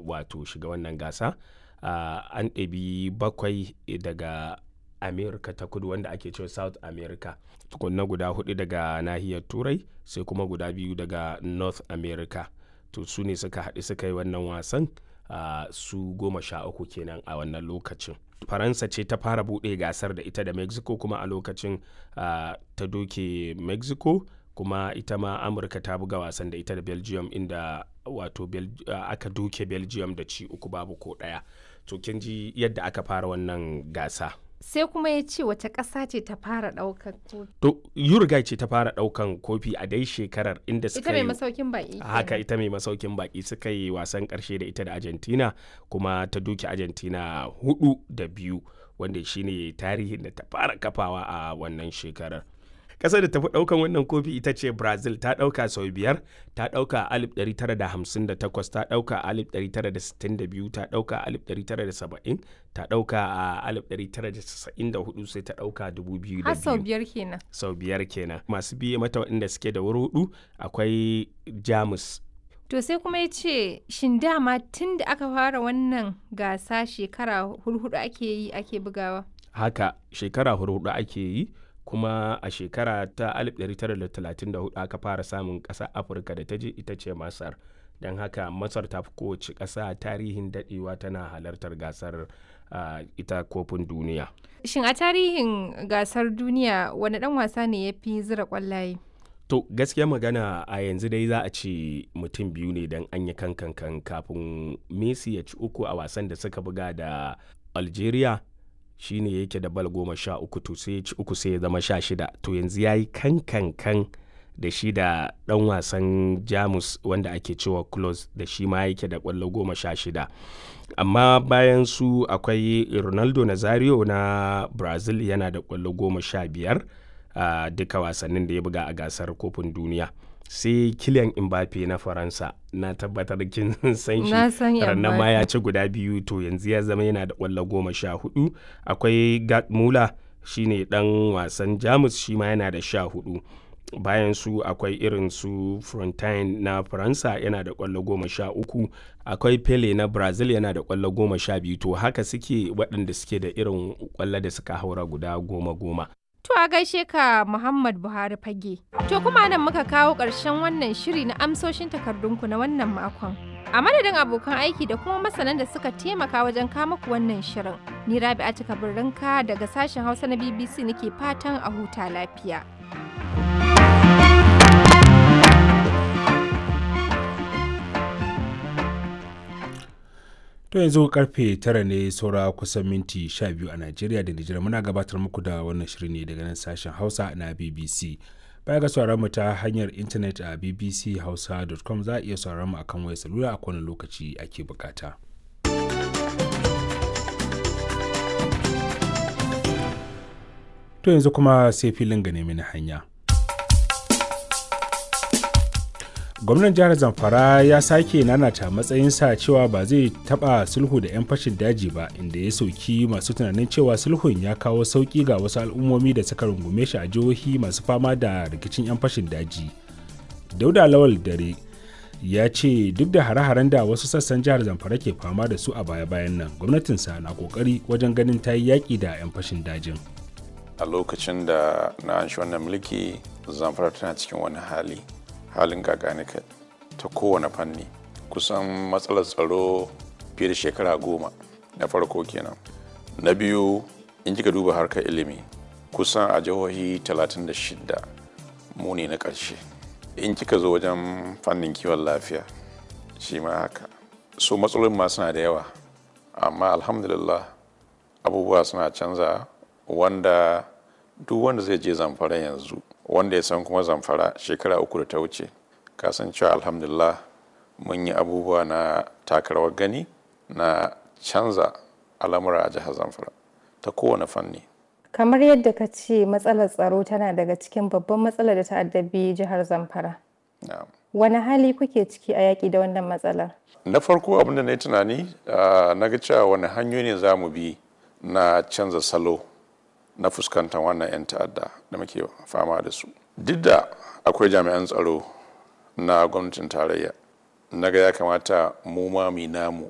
wato shiga wannan gasa. An ɗabi bakwai daga America ta Kudu, wanda ake cewa South America, tukunna guda hudu daga nahiyar Turai, sai kuma guda biyu daga North America. To su ne suka haɗu suka yi wannan wasan, su 13 kenan a wannan lokacin. Faransa ce ta fara buɗe gasar da ita da Mexico, kuma a lokacin ta doke Mexico. Kuma ita ma Amurka ta buga wasan da ita da Belgium, inda wato aka doke Belgium da ci uku babu ko ɗaya. To kin ji yadda aka fara wannan gasa. Sai kuma ya ce wace ƙasa ce ta fara ɗaukan kofi? To Uruguay ce ta fara ɗaukan kofi a dai shekarar, inda suka Ita mai masaukin baƙi. Haka, ita mai masaukin baƙi, suka yi wasan ƙarshe da ita da Argentina, kuma ta doke Argentina 4-2, wanda shine tarihin da ta fara kafawa a wannan shekarar. Kasar da tafi daukan wannan kofi ita ce Brazil, ta dauka sau biyar. Ta dauka 1958, ta dauka 1962, ta dauka 1970, ta dauka a 1994, sai ta dauka 2002. Har sau biyar kenan. Sau biyar kenan. Masu biye mata waɗanda suke da wuri hudu akwai Jamus. To sai kuma ya ce, shin dama tun da aka fara wannan gasa shekara hurhudu ake yi ake bugawa? Haka, shekara hurhudu ake yi. Kuma a shekara ta 1934 aka fara samun ƙasa Afirka da ta je, ita ce Masar. Don haka Masar ta fi kowace ƙasa tarihin daɗewa tana halartar gasar ita kofin duniya. Shin a tarihin gasar duniya wani ɗan wasa ne ya fi zira ƙwallaye? To gaskiya magana, a yanzu dai za a ce mutum biyu ne, don an yi kankan kafin Messi ya ci uku a wasan da suka buga da Algeria. Shine yake da bal 13, to sai ya ci uku, sai ya zama 16. To yanzu ya yi kankankan da shi da dan wasan Jamus wanda ake cewa Close, da shi ma yake da kwallo 16. Amma bayan su akwai Ronaldo Nazario na Brazil, yana da kwallo 15 a duka wasannin da ya buga a gasar kofin duniya. Sai Kylian Mbappe na Faransa, na tabbatar kin san shi, rannan ma ya ci guda biyu, to yanzu ya zama yana da kwallo 14. Akwai Gerd Muller, shine dan wasan Jamus, shi ma yana da 14. Bayan su akwai irin su Frontine na Faransa, yana da kwallo 13. Akwai Pele na Brazil, yana da kwallo 12. To haka suke waɗanda suke da irin kwallo da suka haura guda goma goma. To a gaishe ka, Muhammad Buhari Fage. To kuma nan muka kawo ƙarshen wannan shiri na amsoshin takardunku na wannan makon. A madadin abokan aiki da kuma masanan da suka taimaka wajen kama ku wannan shirin. Ni Rabi'a Kabirrinka daga sashen Hausa na BBC nake fatan a huta lafiya. To yanzu karfe 9 ne saura kusan minti 12 a Najeriya da Nijar. Muna gabatar muku da wannan shirin ne daga nan sashen Hausa na BBC. Baya ga sauraron mu ta hanyar intanet a bbchausa.com, za a iya sauraron mu akan wayar salula a kowane lokaci ake bukata. To yanzu kuma sai filin gane mini hanya. Gwamnan jihar Zamfara ya sake nanata matsayinsa cewa ba zai taba sulhu da 'yan fashin daji ba, inda ya sauki masu tunanin cewa sulhun ya kawo sauki ga wasu al'ummomi da suka rungume shi a jihohi masu fama da rikicin 'yan fashin daji. Dauda Lawal Dare ya ce duk da hare-haren da wasu sassan jihar Zamfara ke fama da su a baya-bayan nan, gwamnatinsa na kokari wajen ganin ta yi yaƙi da 'yan fashin dajin. A lokacin da na anshi wannan mulki, Zamfara tana cikin wani hali, halin gaganika ta kowane fanni, kusan matsalar tsaro fiye da shekara 10 na farko kenan. Na biyu, in kika duba harkar ilimi, kusan a jihohi 36 mu ne na ƙarshe. In kika zo wajen fannin kiwon lafiya, shi ma haka. So matsalolin ma suna da yawa, amma alhamdulillah abubuwa suna canza, wanda duk wanda zai je Zamfara yanzu, wanda ya san kuma Zamfara shekara 3 da ta wuce, kasan cewa alhamdulillah mun yi abubuwa na takarawar gani na canza al'amura a jihar Zamfara ta kowane fanni. Kamar yadda ka ce, matsalar tsaro tana daga cikin babban matsalar da ta addabi jihar Zamfara. Wani hali kuke ciki a yaƙi da wannan matsalar? Na farko, abin da na yi tunani, na ga cewa wani hanyoyi ne za mu bi na canza salo na fuskantar wannan 'yan ta'adda da muke fama da su. Duk da akwai jami'an tsaro na gwamnatin tarayya, na ga ya kamata mu ma mu namu.